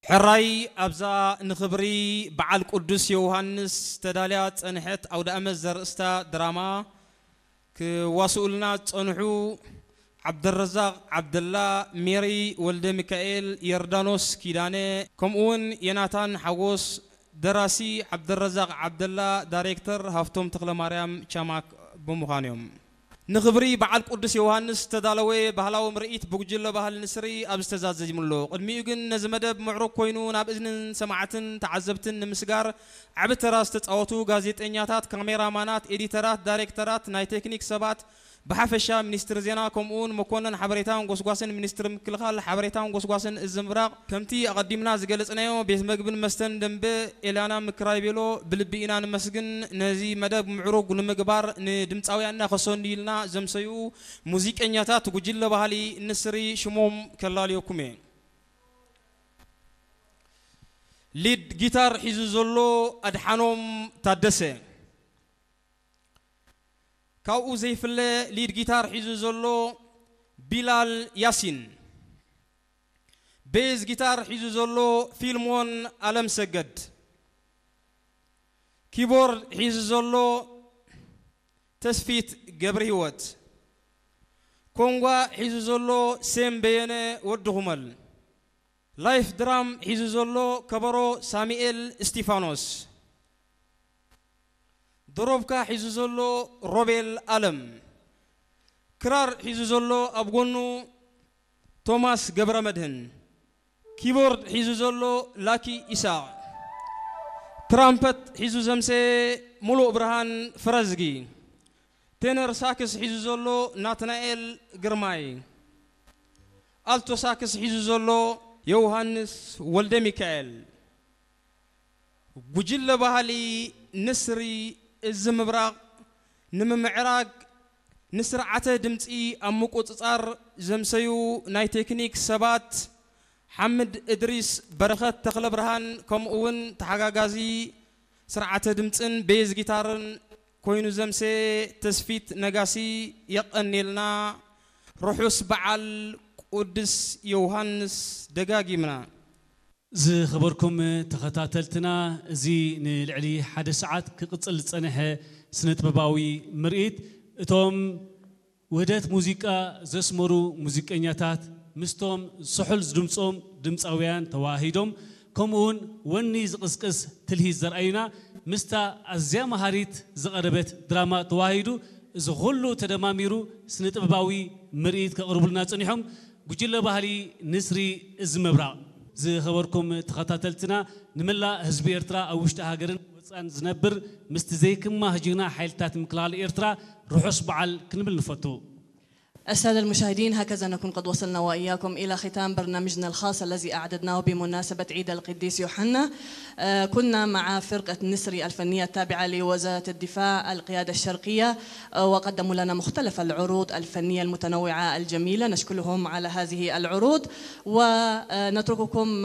ሕራይ ኣብዛ ንኽብሪ በዓል ቅዱስ ዮሃንስ ተዳልያ ዝጸንሐት ኣውደኣመት ዘርእስታ ድራማ ክዋስኡልና ዝጸንሑ ዓብደረዛቕ ዓብደላ፣ ሜሪ ወልደ ሚካኤል፣ ዮርዳኖስ ኪዳነ፣ ከምኡውን ዮናታን ሓጎስ፣ ደራሲ ዓብደረዛቕ ዓብደላ፣ ዳይሬክተር ሃፍቶም ተኽለማርያም ቻማክ ብምዃን እዮም። ንኽብሪ በዓል ቅዱስ ዮሃንስ ዝተዳለወ ባህላዊ ምርኢት ብጉጅለ ባህሊ ንስሪ ኣብ ዝተዛዘሙ ኣሎ። ቅድሚኡ ግን ነዚ መደብ ምዕሩግ ኮይኑ ናብ እዝንን ሰማዕትን ተዓዘብትን ንምስጋር ዓቢ ተራ ዝተጻወቱ ጋዜጠኛታት፣ ካሜራማናት፣ ኤዲተራት፣ ዳይሬክተራት፣ ናይ ቴክኒክ ሰባት፣ ብሓፈሻ ሚኒስትሪ ዜና ከምኡውን መኮነን ሓበሬታን ጎስጓስን ሚኒስትሪ ምክልኻል ሓበሬታን ጎስጓስን እዚ ምብራቕ ከምቲ ኣቐዲምና ዝገለጽናዮ ቤት መግብን መስተን ደንበ ኤላና ምክራይ ቤሎ ብልቢ ኢና ንመስግን። ነዚ መደብ ምዕሩግ ንምግባር ንድምፃውያንና ከሰንዩልና ዘምሰዩ ሙዚቀኛታት ጉጅለ ባህሊ ንስሪ ሽሞም ከላልየኩም እየ። ሊድ ጊታር ሒዙ ዘሎ ኣድሓኖም ታደሰ። ካብኡ ዘይፍለ ሊድ ጊታር ሒዙ ዘሎ ቢላል ያሲን፣ ቤዝ ጊታር ሒዙ ዘሎ ፊልሞን ኣለምሰገድ፣ ኪቦርድ ሒዙ ዘሎ ተስፊት ገብረህይወት፣ ኮንጓ ሒዙ ዘሎ ሴም በየነ ወዲ ኩመል፣ ላይፍ ድራም ሒዙ ዘሎ ከበሮ ሳሙኤል እስቲፋኖስ፣ ዶሮብካ ሒዙ ዘሎ ሮቤል ኣለም፣ ክራር ሒዙ ዘሎ ኣብ ጎኑ ቶማስ ገብረ መድህን፣ ኪቦርድ ሒዙ ዘሎ ላኪ ኢሳቕ፣ ትራምፐት ሒዙ ዘምሰየ ሙሉእ ብርሃን ፍረዝጊ፣ ቴነር ሳክስ ሒዙ ዘሎ ናትናኤል ግርማይ፣ ኣልቶ ሳክስ ሒዙ ዘሎ ዮውሃንስ ወልደ ሚካኤል። ጉጅለ ባህሊ ንስሪ እዚ ምብራቕ ንምምዕራግ ንስርዓተ ድምፂ ኣብ ምቁፅፃር ዘምሰዩ ናይ ቴክኒክ ሰባት ሓምድ እድሪስ፣ በረኸት ተኽለብርሃን፣ ከምኡ እውን ተሓጋጋዚ ስርዓተ ድምፅን ቤዝ ጊታርን ኮይኑ ዘምሰየ ተስፊት ነጋሲ የቐኔልና። ርሑስ በዓል ቅዱስ ዮሃንስ ደጋጊምና። ዝኸበርኩም ተኸታተልትና፣ እዚ ንልዕሊ ሓደ ሰዓት ክቕጽል ዝጸንሐ ስነ-ጥበባዊ ምርኢት፣ እቶም ውህደት ሙዚቃ ዘስመሩ ሙዚቀኛታት ምስቶም ስሑል ዝድምጾም ድምጻውያን ተዋሂዶም፣ ከምኡውን ወኒ ዝቕስቅስ ትልሂት ዘርኣዩና፣ ምስታ ኣዝያ መሃሪት ዝቐረበት ድራማ ተዋሂዱ፣ እዚ ኩሉ ተደማሚሩ ስነ-ጥበባዊ ምርኢት ከቕርቡልና ጸኒሖም። ጉጅለ ባህሊ ንስሪ እዚ ምብራቕ። ዝኸበርኩም ተኸታተልትና፣ ንመላእ ህዝቢ ኤርትራ ኣብ ውሽጢ ሃገርን ወጻን ዝነብር ምስቲ ዘይክማህ ጅግና ሓይልታት ምክልኻል ኤርትራ ርሑስ በዓል ክንብል ንፈቱ። السادة المشاهدين، هكذا نكون قد وصلنا وإياكم إلى ختام برنامجنا الخاص الذي أعددناه بمناسبة عيد القديس يوحنا. آه، كنا مع فرقة نسري الفنية التابعة لوزارة الدفاع، القيادة الشرقية، آه، وقدموا لنا مختلف العروض الفنية المتنوعة الجميلة. نشكرهم على هذه العروض، ونترككم